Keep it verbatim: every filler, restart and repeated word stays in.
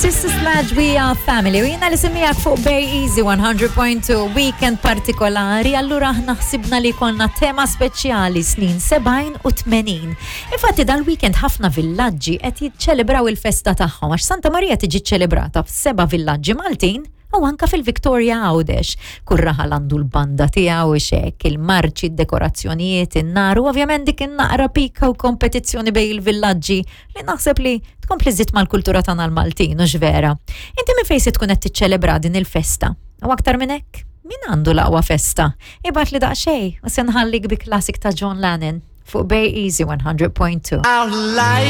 Sister Sledge, We Are Family. U jiena li miegħek fuq Bay Easy one hundred point two, weekend partikolari, allura aħna ħsibna li konna tema speċjali snin sebgħin u tmenin. Infatti dal-weekend ħafna villaġġi qed jiċċelebraw il-festa tagħhom, għax Santa Marija tiġi ċelebrata f'seba' villaġġi Maltin u anka fil-Victoria Għawdex. Kull raħal għandu l-banda tiegħu xek, il-marċi, id-dekorazzjonijiet, in-nar u ovvjament dik in-naqra pika u kompetizzjoni bejn il-villaġġi li naħseb li tkompli żżid mal-kultura tagħna l-Maltin, u vera. Inti minn fejn se tkun qed tiċċelebra din il-festa? U aktar minn hekk, min għandu l-aqwa festa? Ibgħatli daqsxejn u se nħallik bi classic ta' John Lennon fuq Bay Easy one hundred point two. Our life.